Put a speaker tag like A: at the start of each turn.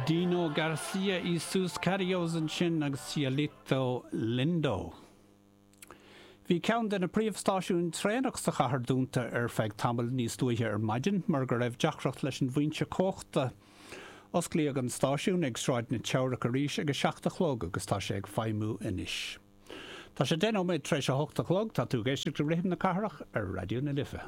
A: Dino Garcia y sus Carios ansin agus Cielito Lindo. Bhí ceann de na príomhstáisiúin traenach sa chathair dúnta ar feadh tamaill níos luaithe ar maidin mar go raibh deacracht leis an bhfoinse cumhachta. Osclaíodh an stáisiún ag Sráid na Teamhrach arís ag a 7 a chlog agus tá sé ag feidhmiú anois. Tá sé 10 nóiméad tar éis a 8 a chlog, tá tú ag éisteacht le Rithim na Cathrach ar Raidió na Life.